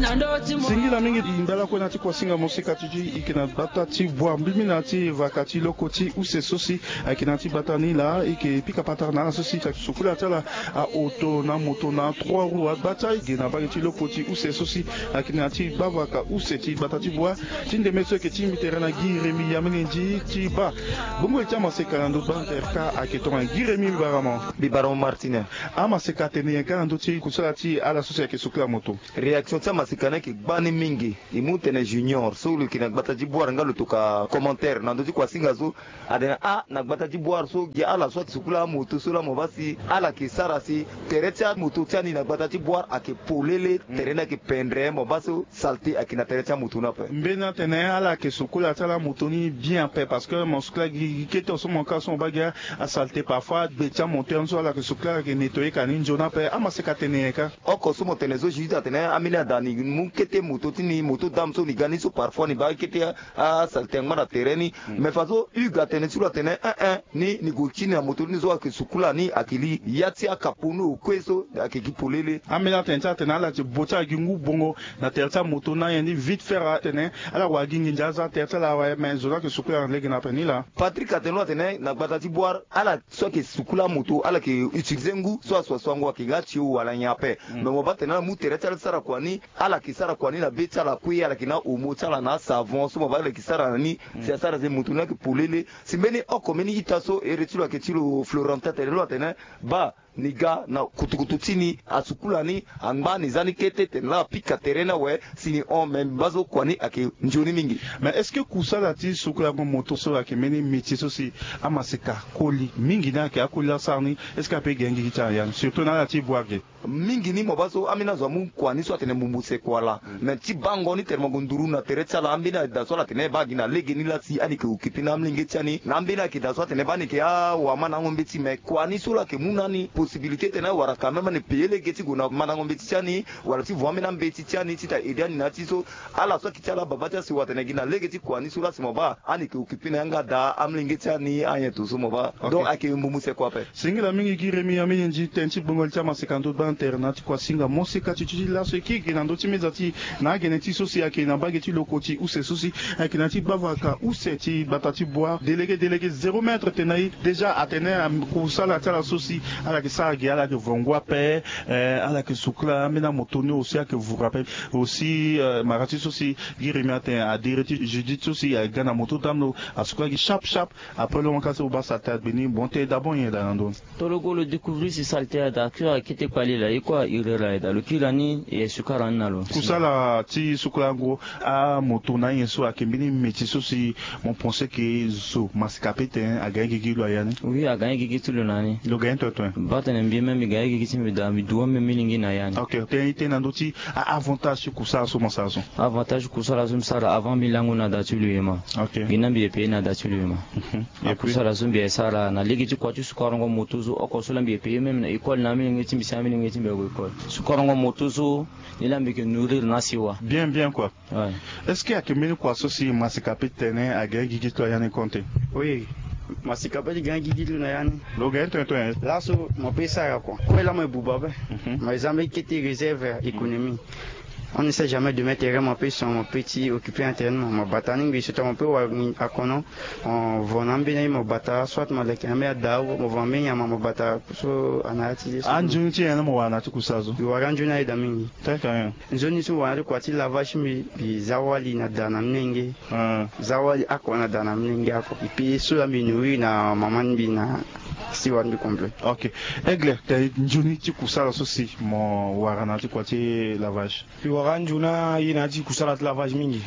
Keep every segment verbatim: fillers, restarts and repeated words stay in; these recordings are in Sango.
Singila mingi. Mbela kue na ti kuasinga mosika ti ti ike na gbata ti bua mbimbi na ti vaka ti loko ti use so si ayeke na ti gbata ni laa, ike pika patara na ala so si sukula ti ala aoto na moto na trois roues agbata ige na mbage ti loko ti use so si ayeke na ti gbavaka use ti gbata ti bua. Ti ndeme so eke ti mbi tere na gi remi ya mene ndi ti baa. Gbongbo ti amaseka na ndo gba ntere ka ayeke tongana gi remi mbi bara mo. Mbi bara mo martine. Amaseka atene nyen ka na ndö ti kusala ti ala so si ayeke sukula moto? Réaction ti amaseka ni ayeke gbani mingi. E mu tene junior so lo yeke na gbata ti boire nga lo toka commentaire na ndö ti kuasinga so. Atene ah na gbata ti boire so gi ala so ayeke sukula amoto so laa mo baa si ala yeke sara si tere ti amoto ti ani na gbata ti boire ayeke polele. Tere ni ayeke pendre mo baa so saleté ayeke na tere ti amoto ni ape. Mbeni atene ala yeke sukula ti ala amoto ni bien ape parce que mo sukula gi kete so mo ka so mo baa gi asaleté parfois gbe ti amoto ni so ala yeke sukula ala yeke nettoyer ka ni nzoni ape. Amaseka atene nyen ka? Oko so mo tene so Judith atene ambeni ada ni mu kete moto ti ni moto dame so ni ga ni so parfois ni baa kete asaleté angba na tere ni. Mais faso Hugues atene ti lo atene eh eh ni ni gue ti ni na moto ni so ayeke sukula ni ayeke li ya ti akapo ni okue so ayeke gi polele. Ambeni atene ti atene ala ti bo ti ala gi ngu bongo na tere ti amoto ni ayen ni vite fait atene ala wara gi nginza aza tere ti ala awe mais zo ni ayeke sukula na lege na ape ni laa. Patrick atene lo atene na gbata ti boire ala so ayeke sukula amoto ala yeke utiliser ngu so asuasuango ayeke ga tio wala nyen ape. Mais mo baa tene ala mu tere ti ala ti sara kua ni ala yeke sara kua ni na be ti ala kue ala yeke na omo ti ala na asavon so mo baa ala yeke sara na ni si asara si moto ni ayeke polele. Si mbeni oko mbeni ita so ere ti lo ayeke ti lo Florentin atene lo atene baa ni ga na kutukutu ti ni asukula ni angba ni za ni kete tene laa apika tere ni awe si ni hon me mbi baa so kua ni ayeke nzoni mingi. Mais est-ce que kusala ti sukulango moto so ayeke mbeni métier so si amaseka koli mingi ni ayeke akoli asara ni? Est-ce que ape gi gigi ti ala ya ni surtout na ala ti boire ge? Mingi ni mo baa so ambeni azo amu kua ni so atene mbumbuse kua laa. Mais ti bango ni tene mo gue nduru na tere ti ala ambeni ada so ala tene baa gi na lege ni laa si ani yeke occupé na amolenge ti ani na ambeni ayeke da so atene baa ni yeke awamandango mbeti mais kua ni so laa ayeke mu na ani possibilité tene awara quand même ani payer lege ti gue na mandango mbeti ti ani wala ti vo ambeni ambeti ti ani ti ta aidé ani na ya ti so. Ala so ayeke ti ala baba ti asewa atene gi na lege ti kua ni so laa si mo baa ani yeke occupé na yanga daa amolenge ti ani anyen to so mo baa. Donc ayeke mbumbuse kua ape. Singila mingi gi remi ya mingi nzi tënë ti gbongoli ti amaseka ndo gba ntere na ti kuasinga moseka ti ti ti laso e kiri gi na ndö ti meza ti na agene ti so si ayeke na mbage ti loko ti use so si ayeke na ti gbavaka use ti gbata ti boire délégué délégué zéro mètre tene na e déjà atene kusala ti ala so si ala yeke sara gi ala yeke vo ngu ape. Ala yeke sukula ambeni amoto ni aussi ayeke vuru ape. Aussi mara ti so si gi remi atene adiri ti Judith so si aga na moto dame lo asukula gi chape chape. Après lo mo ka so mo baa saleté agbe ni mo tene d'abord nyen daa na ndö ni? Toro go lo découvrir si saleté ada kiri akete kpali laa e kue a iri laa e daa lo kiri laa ni e sukara ni na lo. Kusala ti sukulango amoto na nyen so ayeke mbeni métier so si mo pense ke zo masika pe tene aga ni gigi lo aya ni? Oui aga ni gigi ti lo na ni. Lo ga ni toetoe? Baa tene mbi même mbi ga ni gigi ti mbi daa mbi du ambeni milingbi na ya ni. Ok tene i tene na ndö ti a avantage ti kusala so mo sara so? Avantage kusala so mbi sara avant mbi lango na da ti lo e ma. Ok gi na mbi e paye na da ti lo e ma. Akusala so mbi e sara na lege ti kua ti sukarango moto so oko so laa mbi e paye même na école na amilenge ti mbi si amilenge ti mbi ague école sukarango moto so. Ni laa mbi yeke nourrir na asiwa. Bien bien kua. Est-ce que ayeke mbeni kua so si masika pe tene aga ni gigi ti lo aya ni konte? Oui. Masika pe ti ga ni gigi ti lo na ya ni. Lo ga ni tene tene? Laso mo pe sara kua kue laa mo e buba ape. Mo e za mbeni kete réserve économie. On ne sait jamais demain tere mo pe son mo pe ti occupé na tere ni mo mo bata ni ngbi so ta mo pe wara akono. Mo vo na ambeni aye mo bata soit mo leke na ambeni ada mo vo na ambeni nyama mo bata so ana ya ti ye so. Anzoni ti nyen na mo wara na ti kusala so? Mbi wara anzoni ayeda mingi. Teke nyen? Nzoni so mo wara na ti kua ti lavage ti mbi mbi za wali na da na mlenge. Za wali oko na da na mlenge oko. Epi so laa mbi nourrir na mama ni mbi na siwa ni mbi complet. Ok. Aigle tene nzoni ti kusala so si mo wara na ya ti kua ti lavage? Mbi wara anzoni aye na ya ti kusala ti lavage mingi.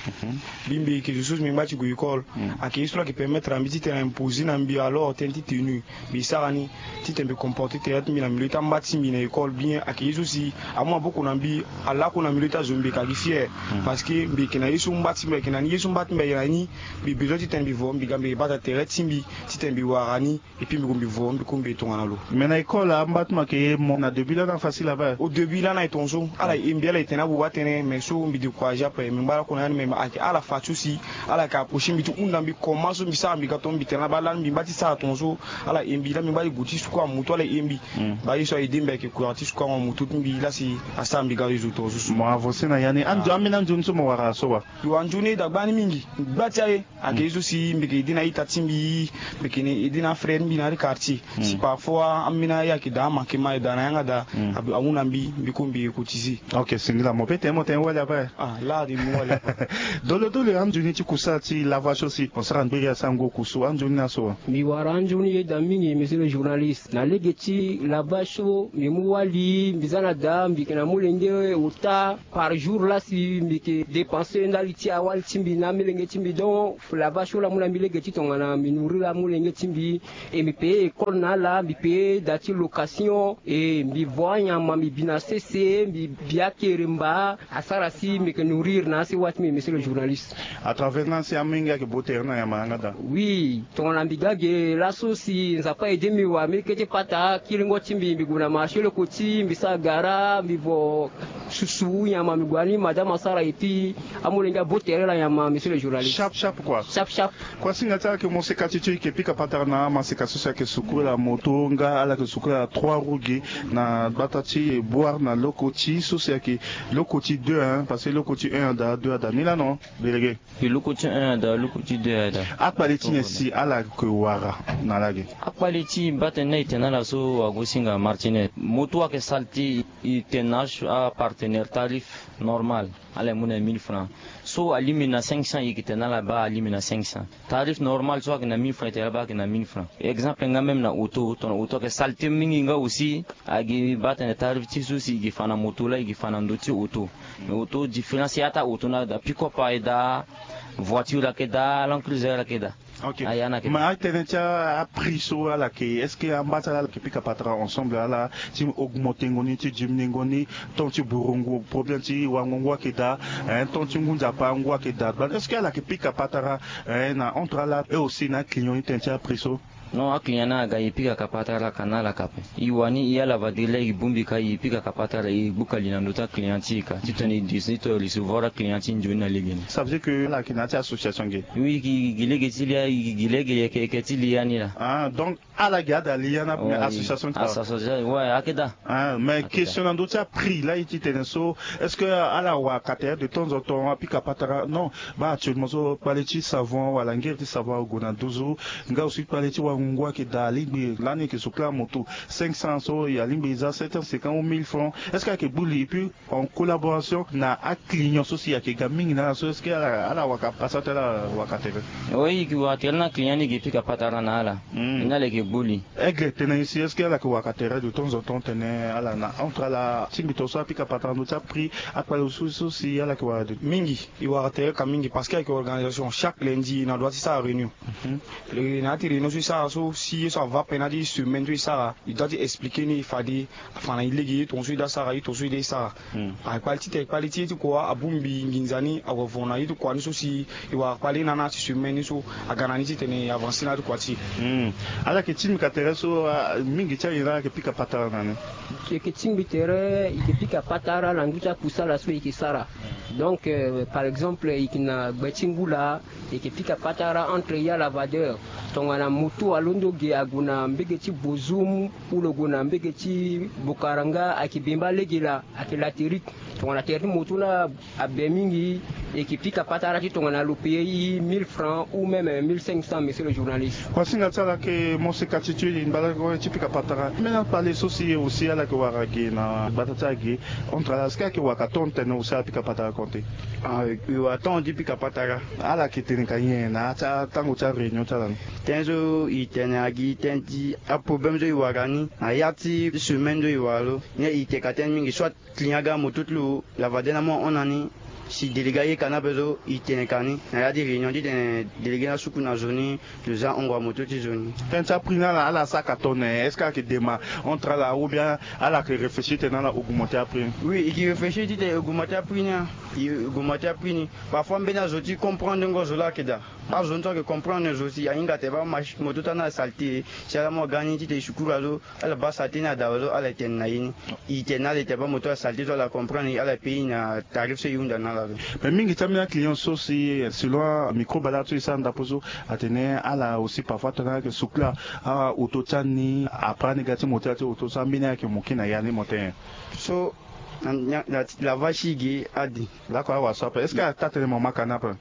Mbi mbi yeke zo so si mbi ngba ti gue école. Ayeke ye so laa ayeke permettre na mbi titene a imposer na mbi alors tënë ti tenue mbi sara ni titene mbi comporter tere ti mbi na milieu ti amba ti mbi na école bien ayeke ye so si amu maboko na mbi. Alako na milieu ti azo mbi yeke agi fier. Parce que mbi yeke na ye so mba ti mbi ayeke na ni ye so mba ti mbi ayeke na ni. Mbi besoin titene mbi vo mbi ga mbi yeke bata tere ti mbi titene mbi wara ni. Epi mbi gue mbi vo mbi Kumbi tongana lo. Mais na école amba ti mo ayeke ye mo na début lana facile ava. Au début lana e tongaso ala e mbi ala e tene abuba atene mais so mbi découragé ape mbi ngba lakue na ya ni mais ayeke ala fa ti osi. Ala yeke approché mbi ti hunda mbi comment so mbi sara mbi ga tonga mbi tene laba lani mbi ngba ti sara tongaso. Ala e mbi la mbi ngba ti gue ti sukua moto ala e mbi. Mba ye so aye de mbi ayeke kura ti sukua mo moto ti mbi la si asara mbi ga ye zo tongaso. Mo avancé na ya ni. Ambeni anzoni so mo wara so wa? Yo anzoni e dagba ni mingi. Gba ti aye. Ayeke ye so si mbi yeke ede na ita ti mbi. Mbi yeke ede na afrère ti mbi na ya ti quartier. Si parfois ambeni aye ayeke daa amanke ma aye daa na yanga daa. Ahunda mbi mbi ko mbi yeke cotisé. Ok singila mo pe tene mo tene wali ape. Ah la de mbi wali ape. Dole dole anzoni ti kusa ti lavage so si mo sara ngberi asara ngu oku so anzoni na so wa? Mbi wara anzoni ye daa mingi monsieur le journaliste. Na lege ti lavage so mbi mu wali mbi za na daa mbi yeke na molenge ota. Par jour la si mbi yeke dépensé ndali ti awali ti mbi na amolenge ti mbi donc lavage so la mu na mbi lege ti tongana mbi nourrir amolenge ti mbi. E mbi paye école na ala mbi paye da ti location. E mbi vo anyama mbi bi na sese mbi bi akeremba. Asara si mbi yeke nourrir na asewa ti mbi monsieur le journaliste. À travers na si amolenge ayeke bo tere na yamba yanga daa. Oui. Tongana mbi ga ge laso si nzapa aidé mbi wara mbi kete pata kiringo ti mbi mbi gue na marché lokoti mbi sara gara mbi vo susu nyama mbi gue ani madame asara epui amolenge abo tere la nyama monsieur le journaliste. Chape chape kua. Chape chape. Kua singa ti ala yeke mo seka ti ti yeke pika patara na amaseka so si ayeke sukula moto nga ala yeke sukula trois roues ge na gbata ti boire na lokoti so si ayeke lokoti deux hein parce que lokoti un ada deux ada ni la non. Délégué. Mbi luku ti un ada luku ti deux ada. Akpale ti nyen si ala yeke wara na lage? Akpale ti mbi baa tene na e tene na ala so agosinga martinet moto ayeke saleté. E tene na apartenaire tarif normal. Ala ye mu na mille francs so alingbi na cinq cents e yeke tene na ala baa alingbi na cinq cents. Tarif normal so ayeke na mille francs e tene na ala baa ayeke na mille francs. Exemple nga même na auto tongana auto ayeke saleté mingi nga aussi. Ayeke baa tene tarif ti so si e yeke fa na moto laa e yeke fa na ndö ti auto. Mais auto différence ya ti auto na daa pick-up aye daa. Voiture ayeke daa, Land Cruiser ayeke daa. Ok. Aya na yeke. Mais atene ti aprix so ala yeke est-ce que amba ti ala ala yeke pika patara ensemble ala ti augmenté ngo ni ti diminué ngo ni? Tant ti bouro ngu problème ti wango ngu ayeke daa. Tant ti ngu nzapa ngu ayeke daa gbani est-ce que ala yeke pika patara na entre ala et aussi na aclient ni tene ti aprix so? Non aclient ni aga e pika ka patara ka na ala ka ape. E wani e ala va de laa e bongbi ka e pika ka patara e gbuka li na ndö ti aclient ti e ka titene e de si to recevoir aclient ti e nzoni na legeni. Ça veut dire que ala yeke na ya ti association ge? Oui e gi lege ti li ya e gi lege yeke yeke ti li ya ni laa. Donc ala ge ada li ya ni ape mais association ti ala. Association ouais ayeke daa. Mais question na ndö ti aprix laa e ti tene so est-ce que ala wara ka tere de temps en temps apika patara non? Baa actuellement so kpale ti savon wala ngere ti savon ague na nduzu. Nga aussi kpale ti wango ngu ayeke daa alingbi lani e yeke sokula moto cinq cents so e alingbi e za sept cent cinquante ou mille francs est-ce que ayeke gbu li et puis en collaboration na aclient so si ayeke ga mingi na ala so est-ce que ala waka pasa ti ala waka tere? Oui e yeke wara tere na aclient ni e yeke pika patara na ala. Ni ala yeke gbu li. Aigle tene ye si est-ce que ala yeke waka tere de temps en temps tene ala na entre ala tingbi tongaso apika patara na ndö ti aprix. Akpale so so si ala yeke wara de mingi. E wara tere ka mingi parce que ayeke organisation chaque lundi na dua ti sara réunion. Na ya ti réunion so e sara so si ye so ava ape na ya ti semaine so e sara e doit ti expliqué ni fade afa na e lege ye tongaso e doit sara ye tongaso e doit e sara. Akpale ti tene kpale ti ye ti kua abongbi nginza ni awe vo na ye ti kua ni so si e wara kpale na na ya ti semaine ni so aga na ni titene e avancé na ya ti kua ti e. Ala yeke tingbi ka tere so mingi ti aye laa ayeke pika patara na ni. E yeke tingbi tere e yeke pika patara na ndö ti akusala so e yeke sara. Donc par exemple e yeke na gbe ti ngu laa e yeke pika patara entre ya lavadeur. Tongana moto alondo ge ague na mbege ti bozum ou lo gue na mbege ti bokaranga ayeke bemba lege laa ayeke laterik. Tongana tere ti moto laa abe mingi e yeke pika patara ti tongana lo paye mille francs ou même mille cinq cents monsieur le journaliste. Kuasinga ti ala yeke mo seka ti tue e mbala ti pika patara mbeni akpale so si aussi ala yeke wara ge na gbata ti ala ge. Entre ala est-ce que ayeke wara ka tongo tene aussi ala pika patara konte? E wara tongo ti pika patara. Ala yeke tene ka nyen na ya ti atango ti aréunion ti ala ni? Tënë so e tene na gi tënë ti aproblème so e wara ni na ya ti semaine so e wara lo. Ni e tene ka tënë mingi soit client aga moto ti lo lavade na mo ahon na ni. Si délégué aye ka ni ape so e tene ka ni na ya ti réunion titene délégué ni asuku na zo ni. Lo za hongo amoto ti zo ni. Tënë ti aprix ni ala ala sara ka tone est-ce que ala yeke dema entre ala ou bien ala yeke réfléchir tene ala augmenter aprix ni? Oui e yeke réfléchir titene e augmenter aprix ni. E augmenter aprix ni. Parfois mbeni azo ti comprendre ngo zo laa ayeke daa. Azo ni so ayeke comprendre zo si ahinga tene baa moto ti ala ni asalté si ala mu aga ni titene e sukuru azo. Ala baa salté ni adawa so ala tene na ye ni. E tene na ala tene baa moto ala salté so ala comprendre ala payé na tarif so e hunda na ala so. Mais mingi ti ambeni aclient so si selon microbe ala so e sara ndapo so atene ala aussi parfois tongana ayeke sukula auto ti ani après ani ga ti mo ti ala ti auto so ambeni ayeke mo ki na ya ni mo tene. So na na na lavage ti e ge ade. Lakue awa so ape est-ce que ata tene mo maka ni ape?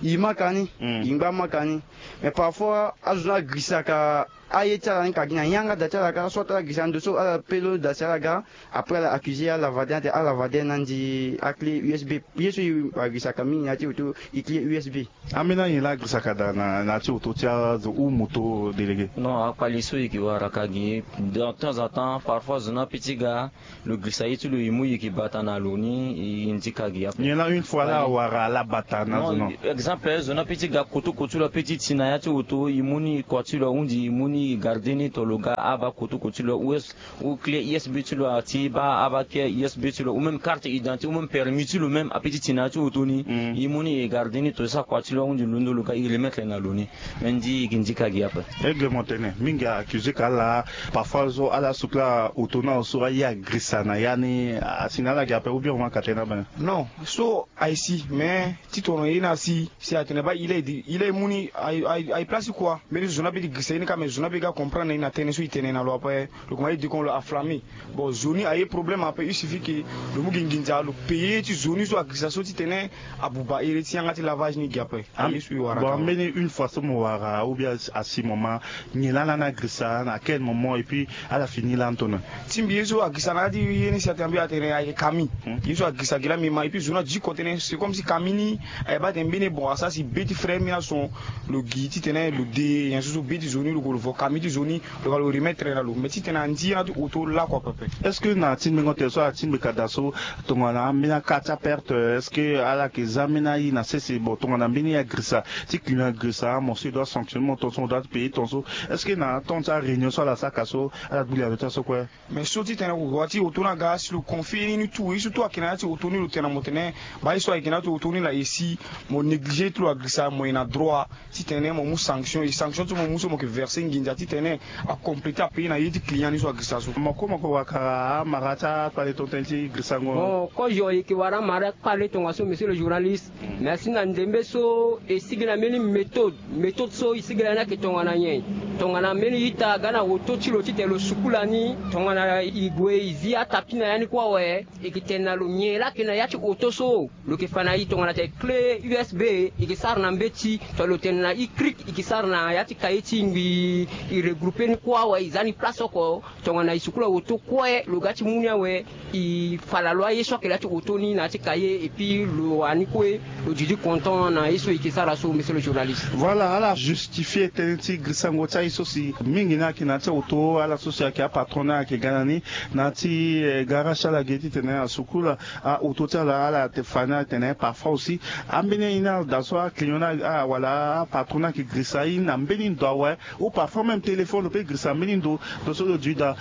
E maka ni. E ngba maka ni. Mais parfois azo ni agrisaka aye ti ala ni ka gi na yanga da ti ala kâ so ata ala girisa ndo so ala pe lo da si ala ga. Après ala accusé ala vade ate ala vade na ndi aclé usb. Ye so e agirisaka mingi na ya ti auto e clé usb. Ambeni anyen laa agirisaka da na ya ti auto ti azo ou moto délégué? Non, akpali so e ke wara ka gi de temps en temps parfois zo ni ape ti ga. Lo girisa ye ti lo e mu e ke bata na lo ni e ndika gi ape. Nyen laa une fois laa awara ala bata na zo non? Exemple zo ni ape ti ga kotoko ti lo ape ti ti na ya ti auto e mu ni e kua ti lo ahundi e mu ni e garde ni to lo ga abaa kotoko ti lo ou est ou clé usb ti lo ati baa abaa clé usb ti lo ou même carte identité ou même permis ti lo même ape ti ti na ya ti auto ni. E mu ni e garde ni to e sara kua ti lo ahundi londo lo ga e remettre na lo ni. Mais ndi e ke ndika gi ape. Aigle mo tene mingi accusé ka ala parfois so ala sukula auto ni awe so aye agirisa na ya ni asi na ala gi ape ou bien mo maka tene abene? Non, so aye si mais ti tongana ye ni asi si atene baa il est il est mu ni aye place ti kua. Mbeni so zo ni ape ti girisa ye ni kâ mais zo ni ape ga comprendre na ye na tënë so e tene na lo ape. Lo kuma ye dikon lo aflammé. Bon zo ni aye problème ape il suffit que lo mu gi nginza lo payé ti zo ni so agirisa so titene abuba ere ti yanga ti lavage ni gi ape. Aye so e wara bon ka ambeni une fois so mo wara ou bien asi mo ma nyen laa lani agirisa na quel moment et puis ala fini lani tongana? Ti mbi ye so agirisa na ya ti ye ni si atene mbi atene ayeke kami. Ye so agirisa gi laa mbi ma et puis zo ni adiko tënë c'est comme si kami ni aye baa atene mbeni bon asara si be ti frère mbi na son lo gi titene lo de nyen so so be ti zo ni lo gue lo vo kami ti zo ni. Lo ga lo remettre na lo mais titene andi ye na ti auto lakue pepe. Est-ce que na ti mbengo tene so ala ti mbi ka daa so tongana ambeni aka ti aperte est-ce que ala yeke za ambeni aye na sese bon tongana mbeni agirisa ti client agirisa mo so e doit sanctionner mo tonso mo doit payer tonso? Est-ce que na temps ti aréunion so ala sara ka so ala gbu lialo ti aso kue? Mais so titene wa ti auto ni aga si lo confier ye ni tout ye so tout ayeke na ya ti auto ni lo tene na mo tene baa ye so ayeke na ya ti auto ni na e si mo négliger ti lo agirisa mo ye na droit titene mo mu sanction e sanction so mo mu so mo yeke verser nginza titene acompléter apayer na ye ti client ni so agirisa so. Mo ko mo ko waka amara ti akpale tongana tënë ti girisango. Bon kozo e yeke wara amara ti akpale tongaso monsieur le journaliste. Mais asi na ndembe so e sigi na mbeni méthode méthode so e sigi na ya ni ayeke tongana nyen? Tongana mbeni ita aga na auto ti lo titene lo sukula ni tongana e gue e zi atapi na ya ni kue awe. E yeke tene na lo nyen laa ayeke na ya ti auto so lo yeke fa na e tongana tene clé usb e yeke sara na mbeti to lo tene na e crik e yeke sara na ya ti kaye ti ngbii. E regroupe ni kue awe e za ni place oko. Tongana e sukula auto kue lo ga ti mu ni awe. E fala lo aye so ayeke na ya ti auto ni na ya ti kaye et puis lo wani kue lo didi content na ye so e yeke sara so monsieur le journaliste. Voilà ala justifie tënë ti girisango ti aye so si mingi ni ayeke na ya ti auto ala so si ayeke apatron ni ayeke ga na ni na ya ti garage ti ala ge titene asukula auto ti ala ala te fa ni atene parfois aussi ambeni aye ni ala daa so aclient ni wala apatron ni ayeke girisa aye ni na mbeni ndo awe. Ou parfois même téléphone lo pe girisa mbeni ndo ndo so lo dui daa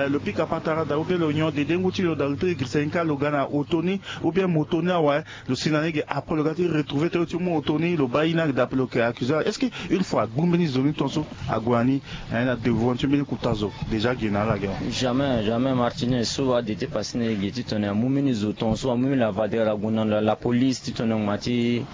lo pika patara daa ou bien lo nyon dede ngu ti lo daa lo pe girisa ye ni kâ lo ga na auto ni ou bien moto ni awe. Lo si na ni ge après lo ga ti retrouver ti lo ti mu auto ni lo baa ye ni daa pe lo yeke accusé est-ce que une fois agbu mbeni zo ni tonso ague na ni na devant ti mbeni kota zo déjà ge na ala ge. Jamais jamais martine so ade ti pasi na e ge ti tongana amu mbeni zo tonso amu mbeni lavadeur ague na lapolice ti tongana ngma ti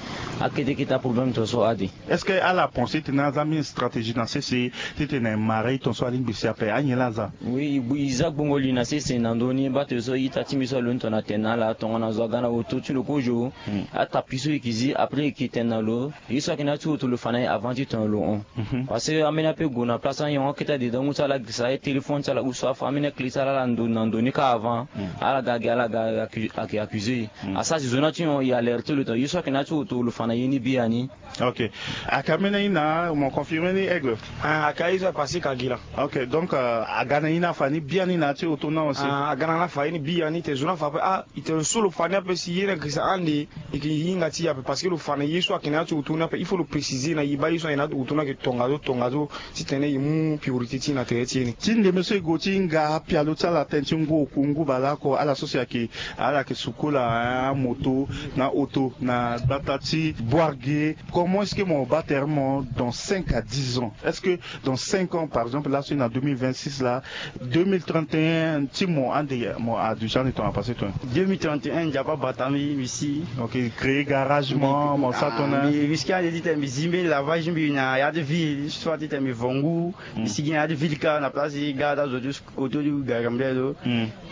akete kete aproblème tonso ade. Est-ce que ala pense titene aza mbeni stratégie na sese titene mara e tonso alingbi si ape anyen laa aza? Oui e za gbongo li na sese na ndö ni baa to so ita ti mbi so aloni tongana tene na ala tongana zo aga na auto ti lo kozo. Atapi so e yeke zi après e yeke tene na lo ye so ayeke na ya ti auto lo fa na e avant ti tongana lo hon. Parce que ambeni ape gue na place anyongo akete adedangu ti ala agirisa aye téléphone ti ala ou so afa ambeni aclé ti ala ala ndo na ndo ni kâ avant. Ala ga agi ala ga agi ayeke accusé. Asara si zo ni ati hon e alerte lo tongana ye so ayeke na ya ti auto lo fa na ye ni biani. Ok. Aka mene ina mo confirme ni aigle. Ah aka izo apasi ka gi la. Ok donc aga na ina fa ni bia ni na ti auto na aussi. Ah aga na na fa ni bia ni te zo na fa pe ah ite so lo fa ni ape si ye na gisa ande. Ike hinga ti ape parce que lo fa na ye so ake na ti auto ni ape il faut lo préciser na ye ba ye so ake na ti auto ni ake tonga zo tonga zo. Ti tene ye mu priorité ti na tere ti ye ni. Ti ndeme so e go ti hinga apialo ti ala tënë ti ngu oku ngu baleoko ala so si ake ala yeke sukola amoto na auto na gbata ti Boire ge, comment est-ce que mo baa tere ti mo dans cinq à dix ans? Est-ce que dans cinq ans, par exemple, là, si na deux mille vingt-six là, deux mille trente et un, ti mo ande mo a du genre ni tongana passé toi? Deux mille trente et un, Nzapa bata mbi, mbi si. Ok, créer garage mo, mo sa tongana mbi, mbi si ande ti tene mbi zi mbeni lavage mbi na ya ti ville, soit ti tene mbi vo ngu, mbi si gi na ya ti ville kâ na place ti ga ti azo ti auto ti gari mbi do.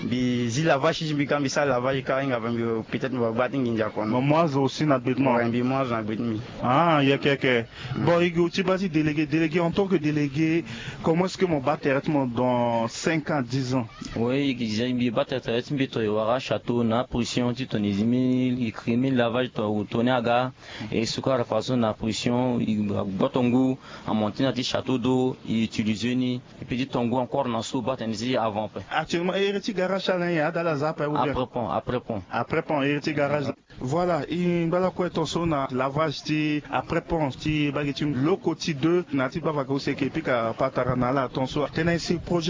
Mbi zi lavage ti mbi kâ, mbi sara lavage kâ, hinga fa mbi peut-être mbi va gba ti nginza kono. Mo azo aussi na gbe ti mo? Ouais, mbi mo azo na gbe ti mbi. Ah, yeke yeke. Bon, e gi ti baa ti délégué, délégué, en tant que délégué, comment est-ce que mo baa tere ti mo dans cinq ans, dix ans? Oui, e gi déjà mbi baa tere ti mbi tongana e wara château na pression ti tongana e zi mbi, e créer mbi lavage tongana e tourner aga. E sukara façon na pression, e gboto ngu, amonté na ti château d'eau, e utiliser ni. Et puis ti tongo encore na so baa tene ti avant pe. Actuellement iri ti garage ala nyen? Adala aza ape ou bien? Après pont, après pont. Après pont iri ti garage. Voilà, e ngba lakue ton so na lavage ti après pont ti baa gi ti loko ti deux na ti bavaka use ke pika patara na ala ton so. Tene si projet